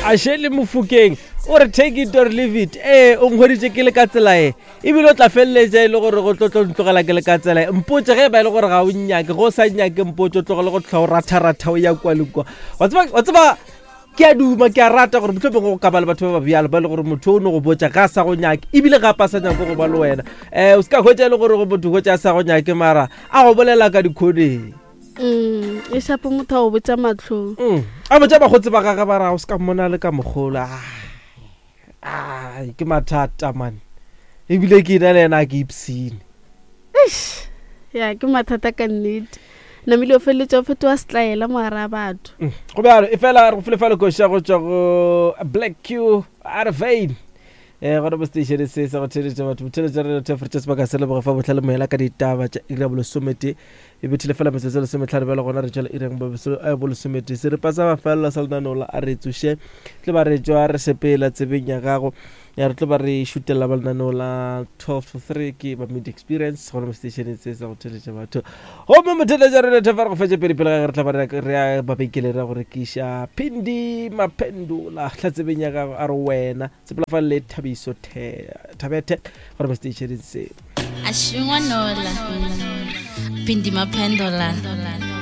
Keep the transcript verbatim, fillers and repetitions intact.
Ashele Mofokeng o re take it or leave it. Ee, o nkgweditše ke le ka tsela e, ebile o tla feleletša e le gore go tlo tlo ntlogela ke le ka tsela e. Mpotse ge e ba e le gore ga o nnyake, ge o sa nnyake mpotse, o tlogele go tlhoa o ratharatha o ya kwa le kwa. Wa tseba, wa tseba ke a duma, ke a rata gore mohlomongwe go ka ba le batho ba ba bjalo ba e le gore motho o no go botša ga a sa go nyake, ebile gape a sa nyake go ba le wena. Um o se ka hwetša e le gore go motho hwetša a sa go nyake, mara a go bolela ka dikgoneng. Mm, e shapo motho a go botša mahlong. Mm. A botša bakgotsi ba gage ba ra o se ka mmona le ka mogolo. Ah, ke mathata man, ebile ke ena le yena a ke ipsene. Eish, ya ke mathata ka nnete. Namile o feleletša o fetoga setlaela mogare a batho. Mm. Go bjalo, e fela re go file fale koša go tšwa go Black Q Arvane. Eh, gona mo station se sa go theletša batho, botheletša re thefre sebaka se leboge fa botlhale moela ka ditaba tša iri ya bolesomete e bethile fela metsotso e lesometlhano. Bjale gona re tšwela ireng bolesomete seripa sa mafelelo sa lenaneo la a re tsoše tlo ba re tšwa re sepela tsebeng ya gago ya re tlo ba re šutela ba lenaneo la twelve to three ke ba media experience gona mo station se sa go theletša batho. Gomme motheletša re thefa re go fetša pele pele ga ge re tla ba re ya mabenkeleng ra go rekiša Phindi Maphendola hla tsebeng ya gago a re wena sepela fa le Thabiso Thabethe gore mo station se. Ashingwanola Phindi Maphendola.